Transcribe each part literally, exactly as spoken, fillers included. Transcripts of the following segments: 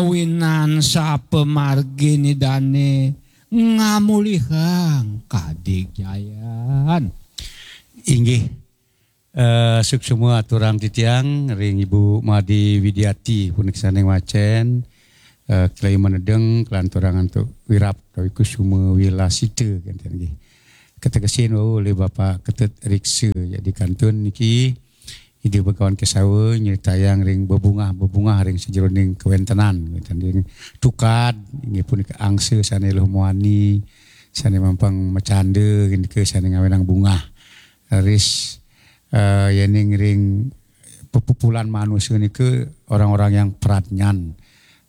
Winan sapamargin Idane ngamulihang kadigjayan. Inggih, eh, suksma aturang titiang ring Ibu Made Widiati punika sane ngwacen, eh, kalih manedeng kalanturang antuk wirab utawi kusuma wilasita kenten nggih. Kategesin wau olih Bapak Ketut Riksa. Jadi kantun niki Ida Bagawan Kesawa nyritayang ring bebungah-bebungah ring sajeroning kawentenan, kenten ring tukad, inggih punika angsa sane luh muani, sane mampang macanda, nika sane ngawenang bungah. Raris, eh, yening ring pepupulan manusia nika orang-orang yang pradnyan,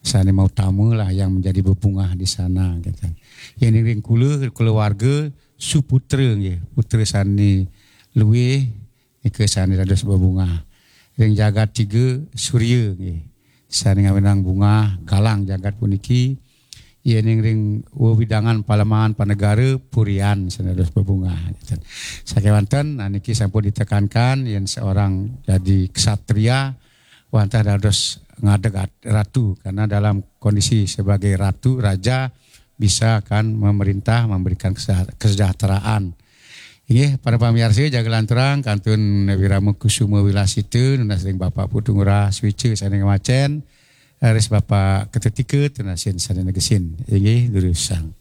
sane mautama lah yang menjadi bebungah di sana, kenten. Yening ring kula, kulawarga suputra nggih, putra sane luih nika sane dados bebungah. Ring jagat tiga, surya nggih, sane ngawenang bungah galang jagat puniki. Yening ring wewidangan palemahan panegara, purian sane dados bebungah. Sakewanten, nah, niki sampun ditekankan, yen seorang jadi ksatria, wantah dados ngadeg at-, ratu, karena dalam kondisi sebagai ratu, raja, bisa akan memerintah, memberikan kesejah-, kesejahteraan. Inggih, para pamiarsa, jaga lanturang kantun wirama kusuma wilasita nunas ring Bapak Putu Ngurah Swica sane ngwacen, raris Bapak Ketetika tunasin sane negesin. Inggih, durusang.